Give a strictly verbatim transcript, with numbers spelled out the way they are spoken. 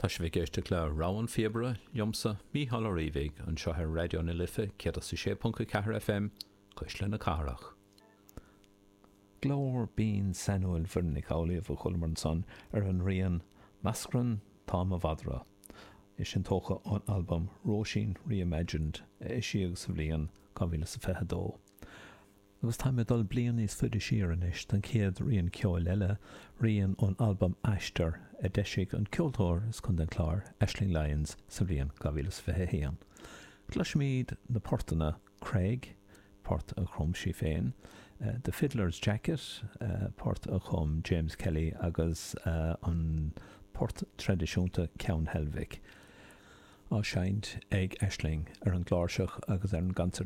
Tá sibh ag éisteacht le Rogha an Phíobaire liomsa Mícheál Ó Riabhaigh anseo ar Raidió na Life céad a sé ponc a ceathair FM Cuisle na Cathrach. Glór binn sainiúil Mhuireann Nic Amhlaoibh a chualamar ansan ar an rian Meascran Tá Mo Mhadra. É sin tógtha ón albam Róisín Reimagined a eisíodh sa bhliain dhá mhíle is a fiche dó. Agus táim ag dul bliain níos faide siar anois don chéad rian ceoil eile, rian ón albam Aistear a d'eisigh an ceoltóir as Contae an Chláir, Aisling Lyons, sa bhliain dhá mhíle is fiche a haon. Cloisfimid na portanna Craig, port a chum sí féin, The Fiddler's Jacket, port a chum James Kelly agus an port traidisiúnta Ceann Heilbhic, á seinnt ag Aisling ar an gcláirseach agus ar an gconsairtín.